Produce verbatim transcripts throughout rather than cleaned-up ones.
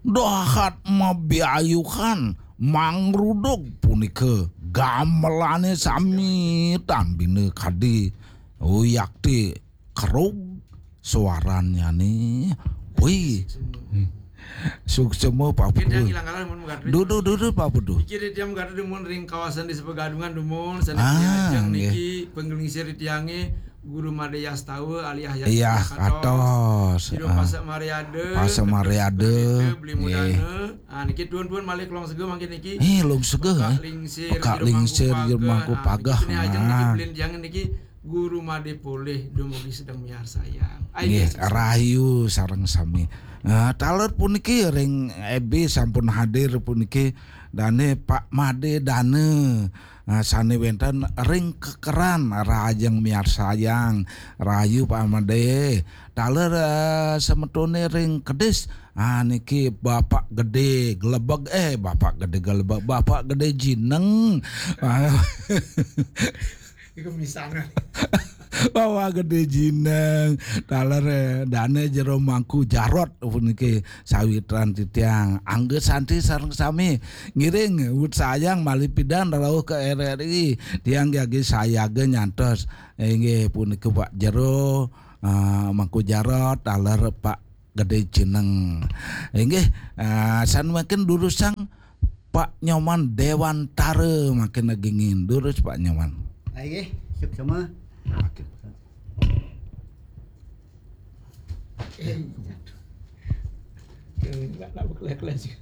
Dahat mabiayuhan mangrudug punika gamelane sami tambina kadi uyakti kerug suarannyane. Wih. Suksema Pak Putu. Dudu, dudu, Pak Putu. Iki dia mengadu dumun ring kawasan Desa Pegadungan dumun, sana Ah, niki pengelingsir tiange Guru Made Yastawa alias Yas Iya, Katos. Katos. Jero Ah. Pasak Mariade, Pasak Mariade. Beli Mudana. Nggih. Ah, niki tuan-tuan malih Long Sega mangkin niki. Eh, Long Sega, Pekak eh. Lingsir, Pekak Jero Lingsir, Mangku Jero Mangku Pagah. Pagah. Nah, niki beli tiange niki Guru Made polih dumugi sedeng miarsayang. Nggih, rahayu sareng sami. Nah, taler puniki ring F B sampun hadir puniki dane Pak Made Dane. Nah, sane wenten ring kekeran rahajeng miarsayang. Rahayu Pak Made. Taler eh, semetone ring kedis. Ah, niki Bapak Gede Gelebeg, eh Bapak Gede Gelebeg, Bapak Gede Jineng. Ah. Iku misangan. Bapak Gede Jineng, taler eh, dane Jero Mangku Jarot puniki sawitran titiang. Angga santi sareng sami ngiring wut sayang malih pidan rauh ke R R I. Tiang jagi sayaga nyantos. Inggih punika Pak Jero, eh, Mangku Jarot, taler Pak Gede Jineng. Inggih, eh, san makin durusang Pak Nyoman Dewantara makin ngingin. Durus Pak Nyoman. Inggih, suksema. Oke. Eh, jatuh. Enggak, enggak bekelek-kelek sih.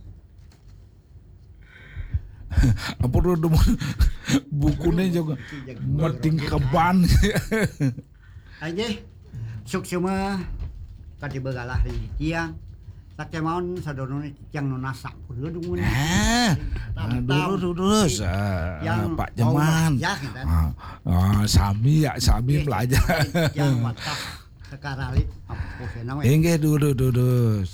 Apa tu demen bukune juga matingkeban. Inggih, suksema kadi begalah ring tiang. Sakemaon sadonone tiang nunas sampun dumun. Eh, dulu, dulu, dulu, Tiang Pak Jeman. Ah, ah, sami ya, sami belajar. Tiang watah kekaralit. Inggih, dulu, dulu.